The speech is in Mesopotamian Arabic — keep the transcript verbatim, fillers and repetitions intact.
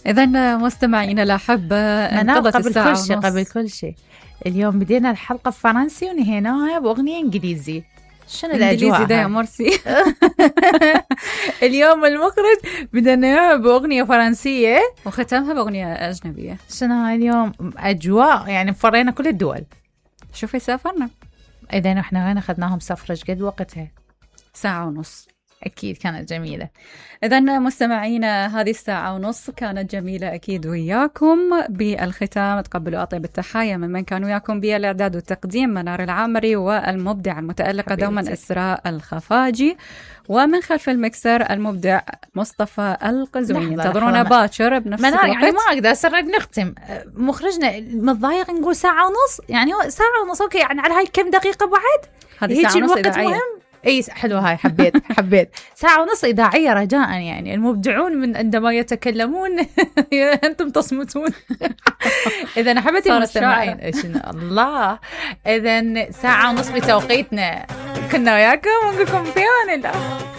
إذا مستمعينا الأحبة، انقضت قبل الساعة كل شيء قبل كل شيء اليوم بدينا الحلقة فرنسي ونهيناها بأغنية إنجليزي. شنو الأجواء ده يا مرسي؟ اليوم المخرج بدنا بأغنية فرنسية وختمها بأغنية أجنبية. شنو هاي اليوم أجواء يعني فرينا كل الدول. شوفي سافرنا. إذا إحنا وين أخذناهم سفرة قد وقتها؟ ساعة ونص. أكيد كانت جميلة. إذا مستمعينا هذه الساعة ونص كانت جميلة أكيد وياكم. بالختام تقبلوا أطيب التحايا من من كان وياكم بالإعداد والتقديم منار العامري، والمبدع المتألقة دوما إسراء الخفاجي، ومن خلف المكسر المبدع مصطفى القزويني. انتظرونا باكر بنفس منار الوقت. يعني ما أقدر أسرع نختم. مخرجنا متضايق نقول ساعة ونص، يعني ساعة ونص أوكي، يعني على هاي كم دقيقة بعد؟ هذه ساعة ونص إذاعية. مهم. اي حلوه هاي، حبيت حبيت ساعه ونص اذاعيه رجاء، يعني المبدعون من عندما يتكلمون انتم تصمتون. اذا حبيت المستمعين الله، اذا ساعه ونص بتوقيتنا كنا وياكم ونقول لكم في امان الله.